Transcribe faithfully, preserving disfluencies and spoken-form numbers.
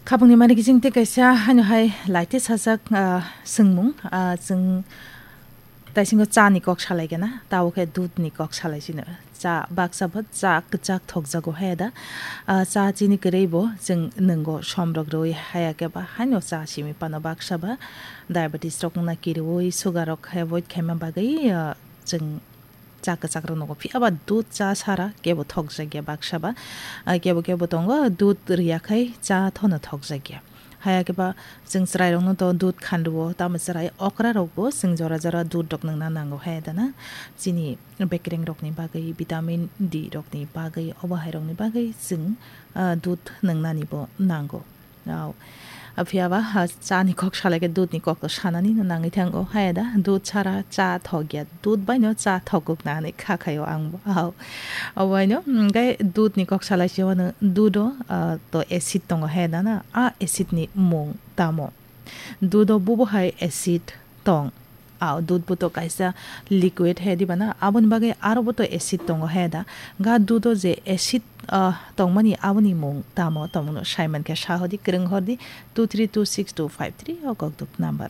Khapangni mani kiching tei kaisa haino hai laite sajak, ah, swngmung, ah, chwng taisingo cha ni kok salai gana, tabo khe dudh ni kok salai sino. Cha baksa bo cha kwchak thokjago haya da. Ah, cha chini kwrwi bo chwng nwngo somrok rwi haya khe ba haino cha simi pano baksa ba diabetes rok wngna kiriwi sugar rok avoid khaima bagwi, ah, chwng cha kwchak rok nwngo. Phiya ba dudh cha sara kebo thokjakya baksa ba. Ah, kebo kebo tongo dudh riya khai cha thono thokjakya. Haya khe ba chwng chwrai rokno to dudh khanrwo, tamo chwrai okra rok bo chwng jora jora dudh rok nwngna nango haya da na. Chini bekreng rokni bagwi, vitamin D rokni bagwi, obo hai rokni bagwi chwng, ah, dudh nwngnani bo nango. Au. Phiya ba, ha, cha ni kok salai khe dudh ni kok to sanani no nangwi thango. Haya da, dudh sara cha thokya, dudh bai no cha thokguk na hinwi kha khaio ang bo. Au. Obo hai no, mm, gai dudh ni kok salai se wano dudh o, ah, to acid tongo haya da na. A acid ni mung tamo? Dudh o bubo hai acid tong. Au, dudh bo to kaisa liquid he diba na, aboni bagwi aro bo to acid tongo he da. Ga dudh o je acid, ah, tongmani aboni mung tamo, tongmano sai mankhe sa hodi, kwrwng hordi two three two six two five three o kokduk number.